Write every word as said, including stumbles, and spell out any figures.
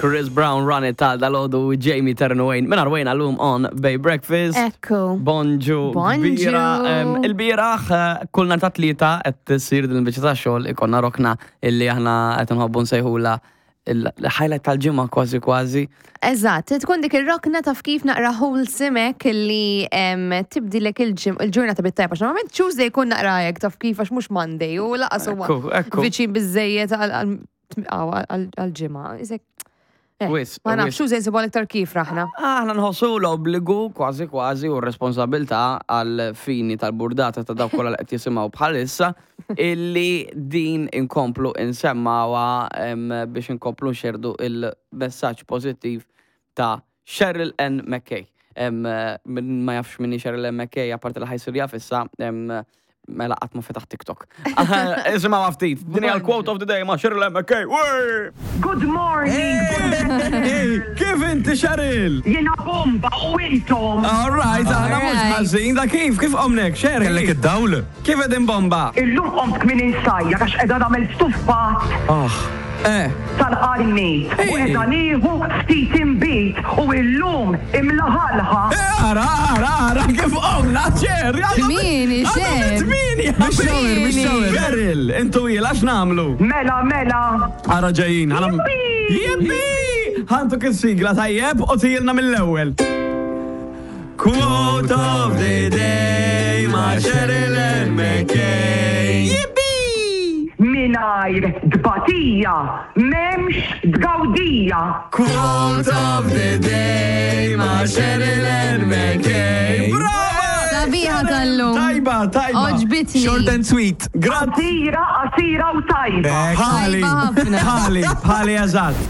Chris Brown, Run It ta' dalgħodu, Jamie Ternuwayne. Minn Arwayne għallum on Bay Breakfast. Ekku. Bonġu. Bonġu. Kbira. Em, Il-bieraħ, eh, kull nhar ta' Tlieta qed issir din il-biċċa ta' xogħol ikollna rokna illi aħna qed nħobbu nsejħula il-highlight tal-ġimgħa kważi kważi. Eżatt, tkun dik ir-rokna taf kif naqra wholesome li em, tibdilek il-ġim- il-ġurnata bit-tajba. Għax Normalment Tuesday jkun naqra hekk taf kif għax mhux Monday u lanqas huwa Ekku, ekku. viċin biżejjed għal-ġimgħa. Isek, eh, Wis, Ma nafx, wis. Tuesday nsibu iktar kif raħna. Aħna nħossu l-obbligu kważi kważi u r-responsabilità għal fini tal-burdata ta' dawk kollha li qed jisimgħu bħalissa illi din inkomplu insemmawha em, biex inkomplu nxerdu il-messaġġ pożittiv ta' Cheryl Ann McKay. Em, Min ma jafx minni Cheryl Ann McKay, apparti li ħa jsir jaf issa, em, mela qatt ma fetaħ TikTok. Isimgħu ftit, din hija l-quote of the day ma' Cheryl Ann McKay. Wey! Good morning! Hey, kif inti, Cheryl? Jiena bomba u intom! All right, aħna mhux Alright. ħażin, da kif, kif qomnek, Cheryl? Kellek id-dawl? Kif qegħdin bomba? Illum qomt kmieni nsajjar għax qiegħda nagħmel stuffat Oh, eh, tal-qarnit u Hey. qiegħda nieħu ftit inbid u illum imlaħalħa. Eh, ara, ara, ara, kif qomna, Cher? Kmieni, Cher. Kmieni, Mix-shower, mix-shower. Cheryl, intu jil, għax nagħmlu? Mela, mela, Ara ġejjin, għana. Jippi! Ħa ntuk il-sigla tajjeb u tgħidilna mill-ewwel. Quote of the day ma' Cheryl Ann McKay. Jippi! Mingħajr tbatija, m'hemmx tgawdija. Quote of the day ma' Cheryl Ann McKay. Brava! Sabiħa tal-lum. Tajba, tajba. Għoġbitni. Short and sweet. Grazzi. Qasira, qasira u tajba. Bħali, Tajba ħafna. bħali, bħali eżatt.